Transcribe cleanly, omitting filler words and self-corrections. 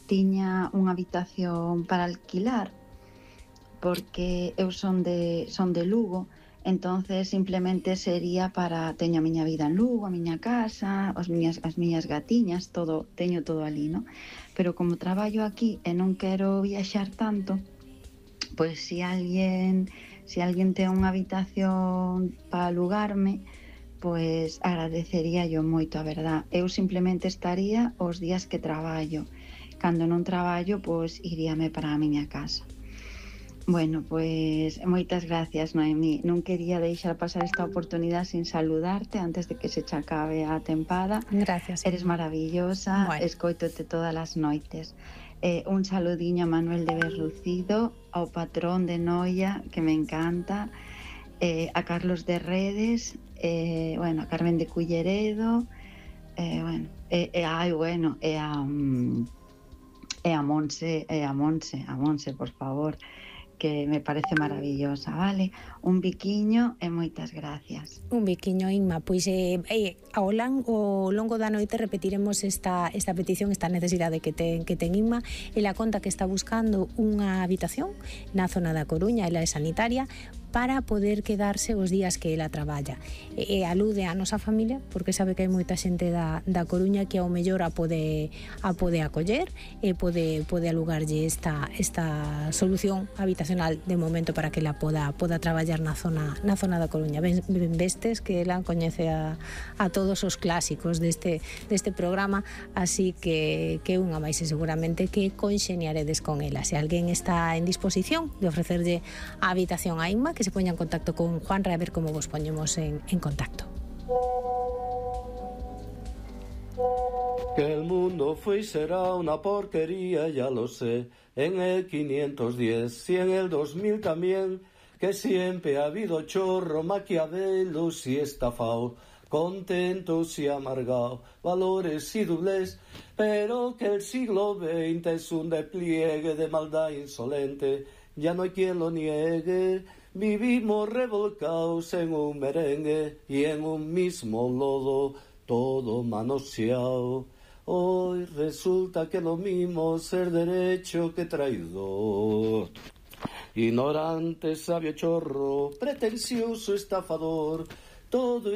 tiña unha habitación para alquilar, porque eu son de Lugo, entonces simplemente sería para... Teño a miña vida en Lugo, a miña casa, as miñas gatiñas, todo, teño todo ali, non? Pero como traballo aquí e non quero viaxar tanto, pois se alguén ten unha habitación para alugarme, pois agradecería yo moito, a verdad. Eu simplemente estaría os días que traballo. Cando non traballo, pois iríame para a miña casa. Bueno, pois moitas gracias, Noemí. Non quería deixar pasar esta oportunidade sin saludarte antes de que se che acabe a tempada. Gracias. Eres maravillosa, Bueno. escoitote todas as noites. Un saludiño a Manuel de Berrucido, ao patrón de Noia, que me encanta, a Carlos de Redes, bueno, a Carmen de Culleredo, bueno, a Monse, por favor, que me parece maravillosa, vale? Un biquiño e moitas gracias. Un biquiño, Inma. Pois ao longo da noite repetiremos esta petición, esta necesidade que ten Inma. Ela conta que está buscando unha habitación na zona da Coruña, ela é sanitaria, para poder quedarse os días que ela traballa. E alude á nosa familia, porque sabe que hai moita xente da Coruña que ao mellor a pode acoller e pode alugarlle esta solución habitacional de momento para que ela poda traballar na zona da Coruña. Ben vestes que ela coñece a todos os clásicos deste programa, así que unha máis seguramente que conxeniaredes con ela. Se alguén está en disposición de ofrecerlle a habitación a Inma, que se poña en contacto con Juanra a ver como vos poñemos en contacto. Que el mundo fue y será una porquería, ya lo sé, en el 510 y en el 2000 también, que siempre ha habido chorro, maquiavelos y estafao, contentos y amargados, valores y doblez, pero que el siglo XX es un despliegue de maldad insolente, ya no hay quien lo niegue. Vivimos revolcados en un merengue y en un mismo lodo, todo manoseado. Hoy resulta que lo mismo ser derecho que traidor. Ignorante, sabio chorro, pretencioso estafador, todo es